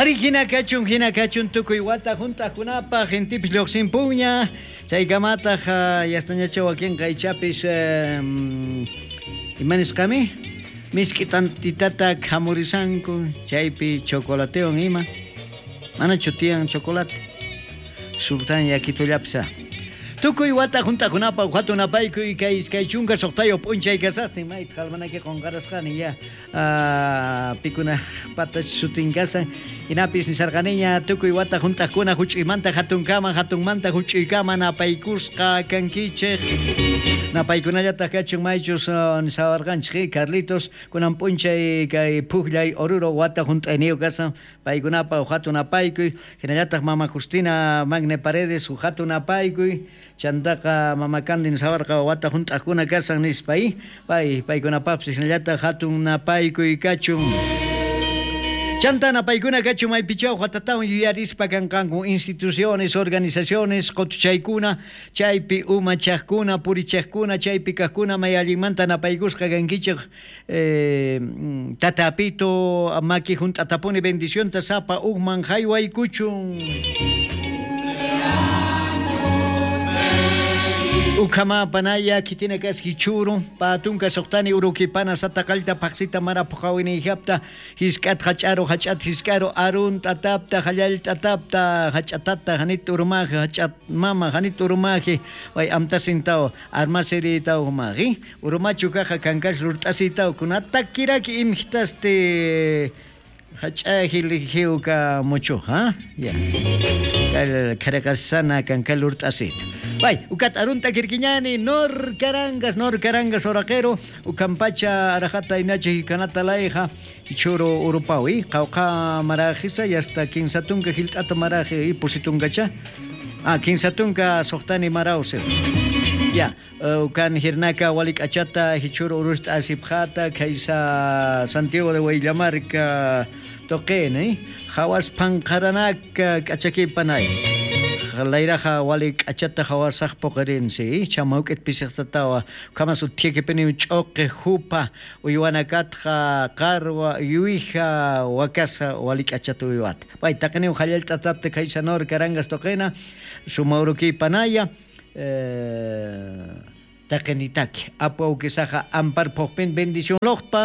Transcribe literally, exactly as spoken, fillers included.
Ari hina kachun hina kachun tukuy wata hunt'aqkunapaq intipis lluqsinpuña chaykamataq yastañacha wakinqa ichapis ima nisqami misk'i tantitata khamurisanku chaypi chocolatewan ima manachu tiyan chocolate sultan yakitullapis. Tukuy wata hunt'aqkunapaq hatun apaykuy kay iskay chunka suqtayuq p'unchay kasaqtin mayta qalmanaki qunqarasqani ya pikuna patach sutin kasan hinapis nisarqaniña tukuy wata hunt'aqkuna huch'uymanta hatunkama hatunmanta huch'uykama napaykusqa kankichik napaykunallataq kachun maychus nisawarqanchik Carlitos kunan p'unchay kay pukllay Oruro wata hunt'ayniyuq kasan paykunapaq hatun apaykuy hinallataq mama Justina Magne Paredes hatun apaykuy chantaqa mama Candy nisawarqa wata hunt'aqkuna kasan nispa pay paykunapaqpis hinallataq hatun napaykuy kachun. Chanta napaykuna kachun maypichaw watatawan yuyarispa kanqanku instituciones, organizaciones, qutuchaykuna, chaypi umachaqkuna, purichaqkuna, chaypi kaqkuna may allinmanta napaykusqa kankichik eh, tatapito maki hunt'atapuni bendicionta sapa uqman haywaykuchun. Ukama panaya kitina kaski churu patunka suqtani urukipana sataqallta paqsita mara puqawini hapta hisk'at hach'aru hach'at hisk'aru arun tatapta hallal tatapta hach'atata hanit urumaji hach'at mama hanit urumaji way amtasintao armasiritao maji urumachu kaja kankash rurt'asitao kunatakiraki imjtaste hach'aji lijiuka muchuja ya kal kharaqasana kankal rurt'asita. Bay, ukat arunta kirkiñani, nor carangas, nor carangas oraqero, ukampacha arajata inachi kanata laija, churo urupawi, qawqa marajisa, y hasta kinsatunka hilt'ata maraji, y pusitunkacha. Ah, kinsatunka suqtani marause. Ya, ukan hirnaka walik achata, hichuro urusta asipjata, kaysa Santiago de Huayllamarca, toqen, eh? Hawas panqaranaka k'achakipanay. Layraja walik achata hawasaq puqirinsi chamawk'it pisiqtatawa kamas uthiakipini ch'uqi jupa uywanakatqa qarwa yuija wakasa walik achata uywata pay taqiniw hallallt'atapta kaysanor karangas toqina sumawrukipanaya eh, taqinitaki apu awkisaqa ampar phuqpin bendición loqpa.